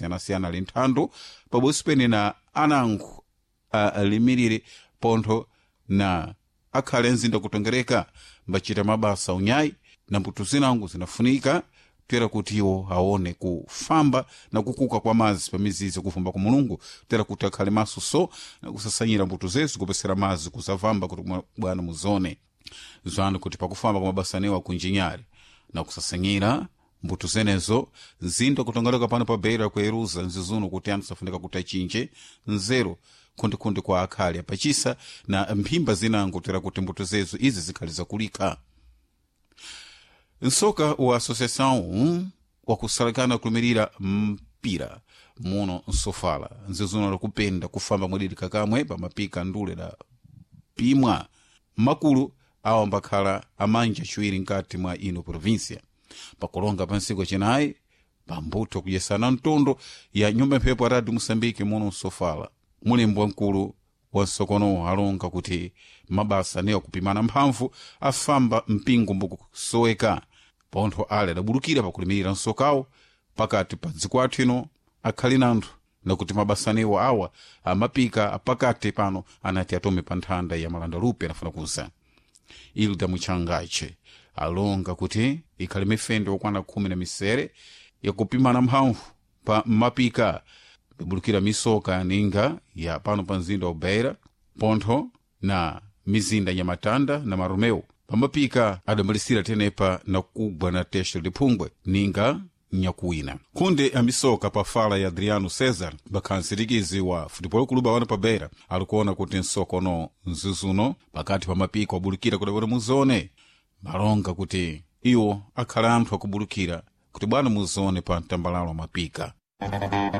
Siyanasiyana ali nthandu pabodzi pene na anango alimirire pontho na akhale mzinda kutongereka mbachita mabasa unyayi na mbuto zinango zinafunika tera kuti iwo aone kufamba na kukuka kwa mazi pa mizizi kufamba kwa Mulungu, tera kuti akhale maso so na kusasanyira mbuto zezu kupesera mazi kusavamba kuti bwana muzone zanu kuti pakufamba kwa mabasa anewo akunjinyari na kusasanyira mbuto zenezo nzinda kutongereka pano pa Beira kueruza nzizuno kuti anthu safunika kuti achinje nzeru khundikhunde kwa akhali apachisa na mphimba zinango tera kuti mbuto zezo izi zikhali zakulika. Nsoka wa associação wakusalakana kulumirira mpira muno nsofala nzizuno lakupenda kufamba mwadidika kamwe pamapika ndule la pimwa makulu awo ambakhala amanja chiwiri nkati mwa ino província pakulonga pa ntsiku acinayi pambuto kudyesana mtondo ya nyumba mphepo ya Radio Moçambique muno nsofala. Mulembo wamkulu wa nsokono alonga kuti mabasa anewo kupimana mphamvu afamba mpingo mbukusoweka pontho ale adabulukira pakulimirira nsokawo pakati pa dziko athu ino akhali nanthu nakuti mabasa anewo awa amapika apakati pano anati atome pa nthanda ya malanda lupe anafuna kuza. Ilda Muchangache alonga kuti ikhali mifendo yokwana 16 yakupimana mphamvu pa mapika ibulukira misoka ninga ya pano pa mzinda wa Beira pontho na mizinda ya Matanda na Maromeu pamapika adamalisira tenepa na kugwa na texto liphungwe ninga nyakuwina. Khunde amisoka pa fala ya Adriano Cesar bakhansirikizi wa futebol kuluba wano pa Beira alikuona kuti nsokono nzizuno pakati pa mapiko abulukira kudapota muzone malonga kuti iwo akhala anthu akubulukira kuti bwana muzone pa mtambalalo mapika.